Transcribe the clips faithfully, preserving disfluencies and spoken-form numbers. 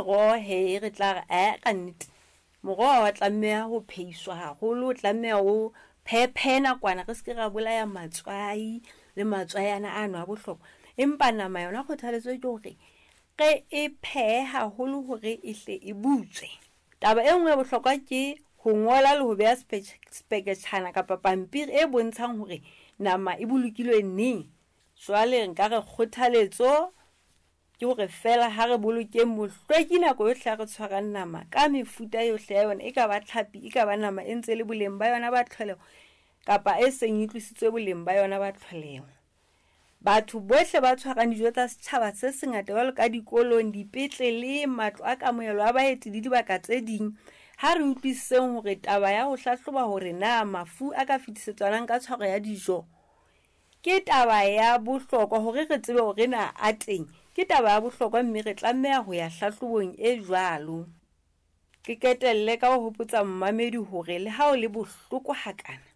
meroho hee re tla re ae ka nnete moroho ha wa tlameha ho phehiswa haholo, o tlameha o phehephehe nakwana re se ke ra bolaya matswai le matswai ana ano a bohlokwa. Empa nama yona kgothaletso ke hore re e phehe haholo hore e hle e butswe. Taba e nngwe ya bohlokwa ke ho ngola le ho beha speketjhana kapa pampiri e bontshang hore nama e bolokilwe neng. Jwale nka re kgothaletso ke hore feela ha re bolokeng bohlweki nako yohle ha re tshwarang nama ka mefuta yohle ya yona, e ka ba tlhapi, e ka ba nama e ntse le boleng ba yona ba tlholeho kapa e seng e tlositswe boleng ba yona ba tlholeho. Batho bohle ba tshwarang dijo tsa setjhaba se sengata jwalo ka dikolong, dipetlele, matlo a kamohelo a baeti le dibaka tse ding, ha re utlwisiseng hore taba ya ho hlahloba hore na mafu a ka fetisetswanang ka tshwaro ya dijo ke taba ya bohlokwa hore re tsebe hore na a teng. Ke taba ya bohlokwa mme re tlameha ho ya hlahlobong e jwalo. Ke qetelle ka ho hopotsa mmamedi hore le ha o le bohloko hakana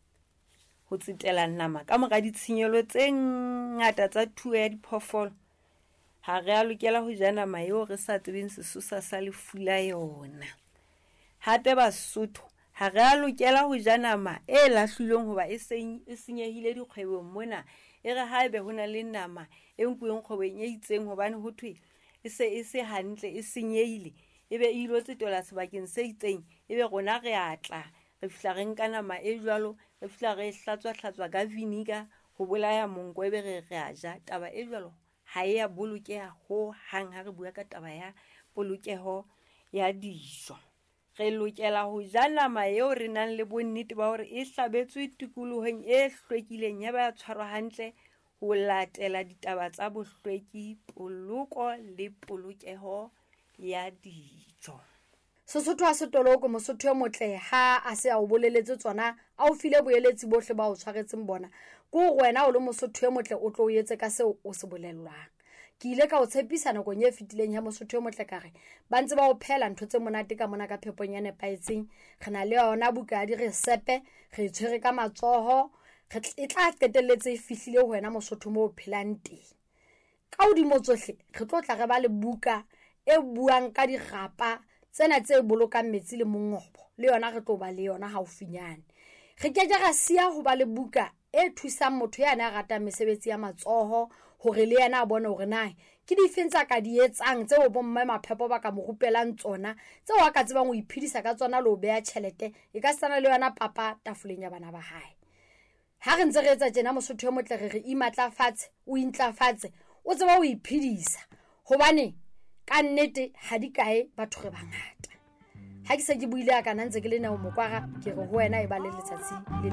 ho tsetela nama ka mora ditshenyehelo tse ngata tsa thuo ya diphoofolo, ha re a lokela ho ja nama eo re sa tsebeng sesosa sa lefu la yona. Hape Basotho ha re a lokela ho ja nama e lahlilweng hoba e seng e senyehile dikgwebong mona. E re haebe ho na le nama e nkuweng kgwebong e itseng hobane ho thwe e se e se hantle, e senyehile, ebe e ilo tsetelwa sebakeng se itseng, ebe rona re a tla re fihla re nka nama e jwalo, re fihla re e hlatswa-hlatswa ka vinegar ho bolaya monko, ebe re re a ja. Taba e jwalo ha e ya bolokeha hohang ha re bua ka taba ya polokeho ya dijo. Re lokela ho ja nama eo re nang le bonnete ba hore e hlabetswe tikolohong e hlwekileng ya ba ya tshwarwa hantle ho latela ditaba tsa bohlweki, poloko le polokeho ya dijo. Sesotho ha se toloko, Mosotho e motle ha a se a o boleletse tsona, a o file boeletsi bohle ba o tshwaretseng bona. Ke hore wena o le Mosotho e motle o tlo o etse ka seo o se bolellwang. Ke ile ka o tshepisa nakong e fetileng ya Mosotho e motle ka re ba ntse ba o phehela ntho tse monate ka mona ka phepong ya nepahetseng. Re na le yona buka ya diresepe, re e tshwere ka matsoho, re e tla qetelletse e fihlile ho wena Mosotho moo o phelang teng. Ka hodimo tsohle re tlo tla re ba le buka e buang ka dirapa tsena tse bolokang metsi le mongobo, le yona re tlo ba le yona haufinyane. Re ke ke ra siya ho ba le buka e thusang motho ya na ratang mesebetsi ya matsoho hore le yena a bone hore na ke difeng tsa ka di etsang tseo bomme maphepo ba ka mo rupelang tsona, tseo a ka tsebang ho iphedisa ka tsona le ho beha tjhelete e ka sana le yona papa tafoleng ya bana ba hae. Ha re ntse re etsa tjena Mosotho e motle, re re imatlafatse, o intlafatse, o tseba ho iphedisa, hobane ka nnete ha di kae batho re bangata. Ha ke se ke buile a kana ntse ke le nao mokwara, ke re ho wena e ba le letsatsi le